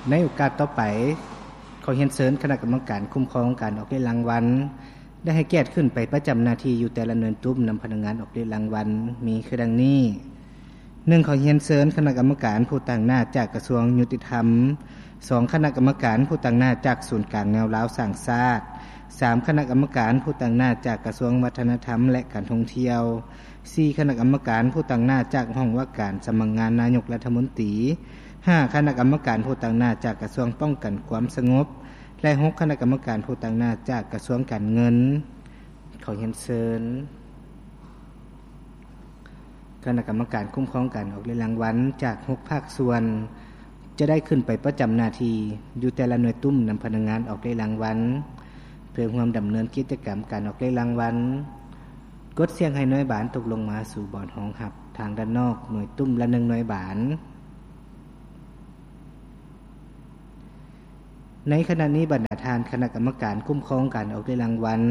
ໃນໂອກາດຕໍ່ໄປ, ຂໍຮຽນເຊີນຄະນະກຳມະການຄຸ້ມຄອງການອອກເລກລາງວັນ ໄດ້ໃຫ້ກຽດຂຶ້ນໄປປະຈຳໜ້າທີ່ຢູ່ແຕ່ລະໜ່ວຍຕຸ້ມນຳພະນັກງານອອກເລກລາງວັນ ມີຄືດັ່ງນີ້. ໜຶ່ງ ຂໍຮຽນເຊີນຄະນະກຳມະການຜູ້ຕາງໜ້າຈາກກະຊວງຍຸຕິທຳ, ສອງ ຄະນະກຳມະການຜູ້ຕາງໜ້າຈາກສູນກາງແນວລາວສ້າງຊາດ, ສາມ ຄະນະກຳມະການຜູ້ຕາງໜ້າຈາກກະຊວງວັດທະນະທຳ ແລະ ການທ່ອງທ່ຽວ, ສີ່ ຄະນະກຳມະການຜູ້ຕາງໜ້າຈາກຫ້ອງວ່າການສຳນັກງານນາຍົກລັດຖະມົນຕີ, ຫ້າ ຄະນະກຳມະການຜູ້ຕາງໜ້າຈາກກະຊວງປ້ອງກັນຄວາມສະຫງົບ ແລະ ຫົກ ຄະນະກຳມະການຜູ້ຕາງໜ້າຈາກກະຊວງການເງິນ. ຂໍຮຽນເຊີນຄະນະກຳມະການຄຸ້ມຄອງການອອກເລກລາງວັນຈາກຫົກພາກສ່ວນ ຈະໄດ້ຂຶ້ນໄປປະຈຳໜ້າທີ່ຢູ່ແຕ່ລະໜ່ວຍຕຸ້ມນຳພະນັກງານອອກເລກລາງວັນ ເພື່ອຮ່ວມດຳເນີນກິດຈະກຳການອອກເລກລາງວັນ. ກົດສ່ຽງໃຫ້ໜ່ວຍບານຕົກລົງມາສູ່ບ່ອນຮອງຮັບທາງດ້ານນອກໜ່ວຍຕຸ້ມລະໜຶ່ງໜ່ວຍບານ. ໃນຂະນະນີ້ ບັນດາທ່ານຄະນະກຳມະການຄຸ້ມຄອງການອອກເລກລາງວັນ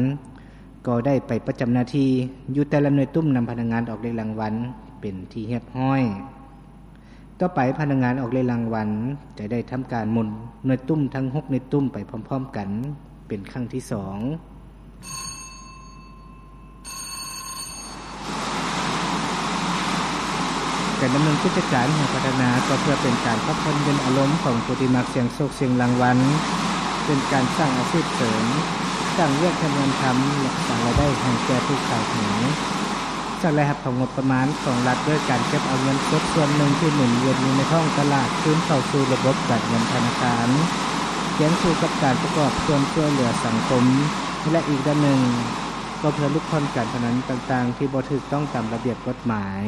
ກໍໄດ້ໄປປະຈຳໜ້າທີ່ຢູ່ແຕ່ລະໜ່ວຍຕຸ້ມນຳພະນັກງານອອກເລກລາງວັນເປັນທີ່ຮຽບຮ້ອຍ. ຕໍ່ໄປພະນັກງານອອກເລກລາງວັນຈະໄດ້ທຳການໝູນໜ່ວຍຕຸ້ມທັງຫົກໜ່ວຍຕຸ້ມໄປພ້ອມໆກັນເປັນຄັ້ງທີສອງ. ການດຳເນີນກິດຈະການຫາພັດທະນາກໍເພື່ອເປັນການພັກຜ່ອນຢ່ອນອາລົມຂອງຜູ້ທີ່ມັກສ່ຽງໂຊກສ່ຽງລາງວັນ, ເປັນການສ້າງອາຊີບເສີມ, ສ້າງວຽກເຮັດງານທຳ ແລະ ສ້າງລາຍໄດ້ໃຫ້ແກ່ຜູ້ຂາຍຫວຍ. ສ້າງລາຍຮັບເຂົ້າງົບປະມານຂອງລັດດ້ວຍການເກັບເອົາເງິນສົດສ່ວນໜຶ່ງທີ່ໝູນວຽນຢູ່ໃນທ້ອງຕະຫຼາດຄືນເຂົ້າສູ່ລະບົບການເງິນທະນາຄານ, ຄຽງຄູ່ກັບການປະກອບສ່ວນຊ່ວຍເຫຼືອສັງຄົມ ແລະ ອີກດ້ານໜຶ່ງ ກໍເພື່ອຫຼຸດຜ່ອນການພະນັນຕ່າງໆທີ່ບໍ່ຖືກຕ້ອງຕາມລະບຽບກົດໝາຍ.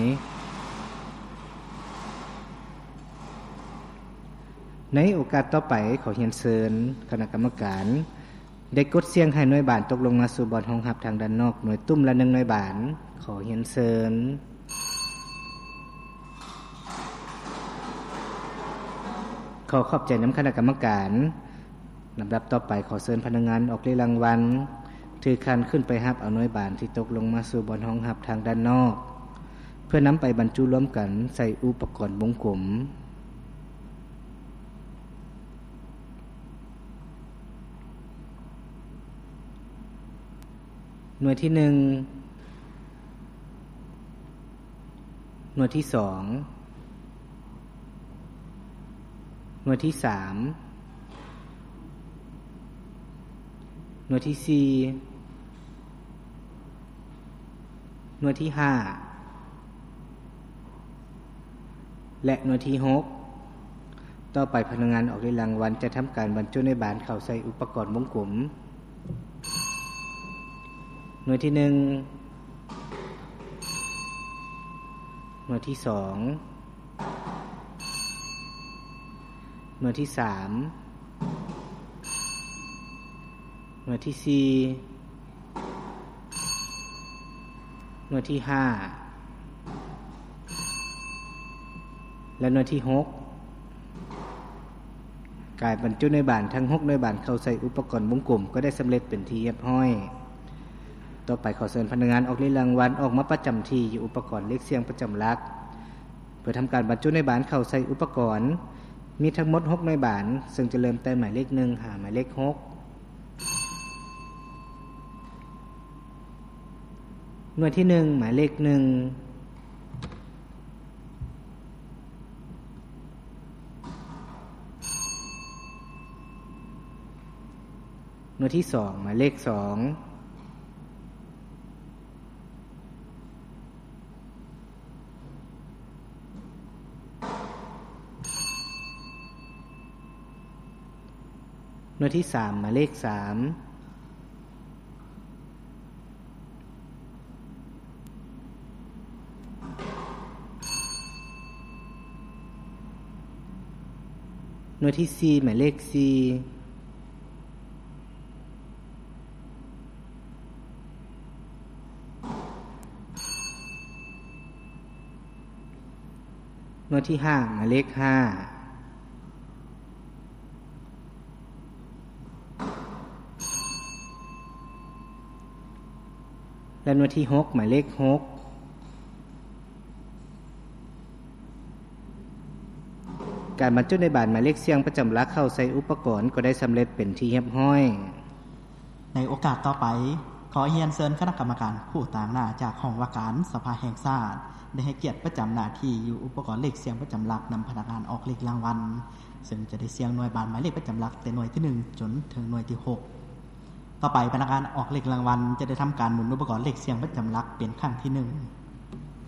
ໃນໂອກາດຕໍ່ໄປ, ຂໍຮຽນເຊີນຄະນະກຳມະການ ໄດ້ກົດສ່ຽງໃຫ້ໜ່ວຍບານຕົກລົງມາສູ່ບ່ອນຮອງຮັບທາງດ້ານນອກໜ່ວຍຕຸ້ມລະໜຶ່ງໜ່ວຍບານ. ຂໍຮຽນເຊີນ. ຂໍຂອບໃຈນຳຄະນະກຳມະການ. ລຳດັບຕໍ່ໄປ, ຂໍເຊີນພະນັກງານອອກເລກລາງວັນ ຖືຄັນຂຶ້ນໄປຮັບເອົາໜ່ວຍບານທີ່ຕົກລົງມາສູ່ບ່ອນຮອງຮັບທາງດ້ານນອກ ເພື່ອນຳໄປບັນຈຸລວມກັນໃສ່ອຸປະກອນວົງກົມ. ໜ່ວຍທີໜຶ່ງ, ໜ່ວຍທີສອງ, ໜ່ວຍທີສາມ, ໜ່ວຍທີສີ່, ໜ່ວຍທີຫ້າ ແລະ ໜ່ວຍທີຫົກ. ຕໍ່ໄປພະນັກງານອອກເລກລາງວັນຈະທຳການບັນຈຸໜ່ວຍບານເຂົ້າໃສ່ອຸປະກອນວົງກົມ. ໜ່ວຍທີໜຶ່ງ, ໜ່ວຍທີສອງ, ໜ່ວຍທີສາມ, ໜ່ວຍທີສີ່, ໜ່ວຍທີຫ້າ ແລະ ໜ່ວຍທີຫົກ. ການບັນຈຸໜ່ວຍບານທັງຫົກໜ່ວຍບານເຂົ້າໃສ່ອຸປະກອນວົງກົມກໍໄດ້ສຳເລັດເປັນທີ່ຮຽບຮ້ອຍ. ຕໍ່ໄປຂໍເຊີນພະນັກງານອອກເລກລາງວັນອອກມາປະຈຳທີ່ຢູ່ອຸປະກອນເລກສ່ຽງປະຈຳຫຼັກ ເພື່ອທຳການບັນຈຸໜ່ວຍບານເຂົ້າໃສ່ອຸປະກອນ. ມີທັງໝົດຫົກໜ່ວຍບານ, ເຊິ່ງຈະເລີ່ມແຕ່ໝາຍເລກໜຶ່ງຫາໝາຍເລກຫົກ. ໜ່ວຍທີໜຶ່ງ ໝາຍເລກໜຶ່ງ. ໜ່ວຍທີສອງ ໝາຍເລກສອງ. ໜ່ວຍທີສາມ ໝາຍເລກສາມ. ໜ່ວຍທີສີ່ ໝາຍເລກສີ່. ໜ່ວຍທີຫ້າ ໝາຍເລກຫ້າ ແລະ ໜ່ວຍທີຫົກ ໝາຍເລກຫົກ. ການບັນຈຸໜ່ວຍບານໝາຍເລກສ່ຽງປະຈຳຫຼັກເຂົ້າໃສ່ອຸປະກອນກໍໄດ້ສຳເລັດເປັນທີ່ຮຽບຮ້ອຍ. ໃນໂອກາດຕໍ່ໄປ, ຂໍຮຽນເຊີນຄະນະກຳມະການຜູ້ຕາງໜ້າຈາກຫ້ອງວ່າການສະພາແຫ່ງຊາດ ໄດ້ໃຫ້ກຽດປະຈຳໜ້າທີ່ຢູ່ອຸປະກອນເລກສ່ຽງປະຈຳຫຼັກນຳພະນັກງານອອກເລກລາງວັນ, ເຊິ່ງຈະໄດ້ສ່ຽງໜ່ວຍບານໝາຍເລກປະຈຳຫຼັກແຕ່ໜ່ວຍທີໜຶ່ງຈົນເຖິງໜ່ວຍທີຫົກ. ຕໍ່ໄປ, ພະນັກງານອອກເລກລາງວັນຈະໄດ້ທຳການໝູນອຸປະກອນເລກສ່ຽງປະຈຳຫຼັກເປັນຄັ້ງທີໜຶ່ງ.